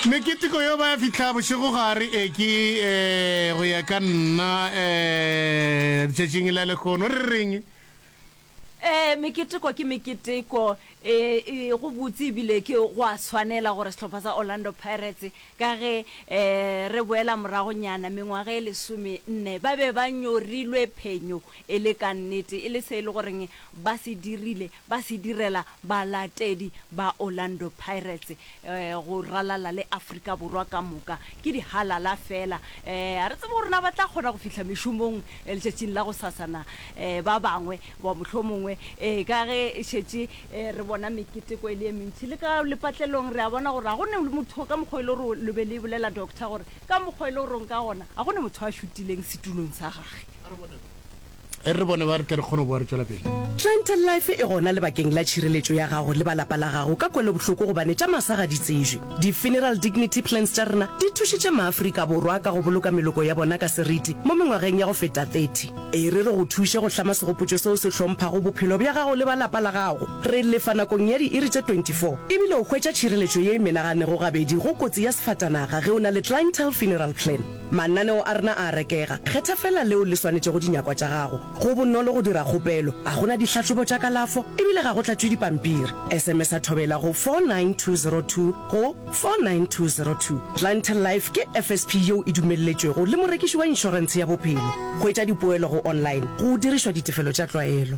Meketeko yo ba ya fihla bošegogare e ke eh, go ya ka nna eh, letšatšing la lehono re reng? Ee, meketeko ke meketeko. E, e, go botse ebile ke go a swanela gore sehlopha sa Orlando Pirates ka ge e, re boela moragonyana mengwaga e lesomenne ba be ba nyorilwe phenyo e le ka nnete, e le se e le goreng ba se dirile, ba se direla balatedi ba Orlando Pirates go ralala le Afrika Borwa ka moka. Ke dihalala feela. Ga re tsebe gore na ba tla kgona go fihla mešomong letšatšing la gosasa na. Ba bangwe ba mohlomongwe ka ge e šetše re bona meketeko e le e mentši le ka lepatlelong, re a bona gore ga go ne motho ka mokgwa e le gore le be le bolela doctor gore ka mokgwa e le goreng ka gona ga go ne motho a šutileng setulong sa gage. E re bone ba re tle re kgone go boa re tšwela pele. Clientele Life e gona lebakeng la tšhireletšo ya gago le ba lapa la gago ka kwelobohloko gobane tša masa ga di tsejwe. Di-Funeral Dignity Plans tša rena di thušitše maAfrika Borwa ka go boloka meloko ya bona ka seriti mo mengwageng ya go feta 30. E re re go thuše go hlama segopotšo seo se hlomphago bophelo bja gago le ba lapa la gago. Re lefa nakong ya diiri tše 24 ebile o hwetša tšhireletšo ye e menaganego gabedi go kotsi ya sefatanaga ge o na le Clientele Funeral Plan. Mananeo a rena a a rekega. Kgetha feela leo le swanetšego dinyakwa tša gago. Go bonolo go dira kgopelo, ga go na dihlahlobo tša kalafo e bile ga go tlatšwe dipampiri. SMS-a Thobela go 49202 go 49202. Clientele Life ke FSP yeo e dumelletšwego le morekiši wa inšorentshe ya bophelo. Hwetša dipoelo go online go dirišwa ditefelo tša tlwaelo.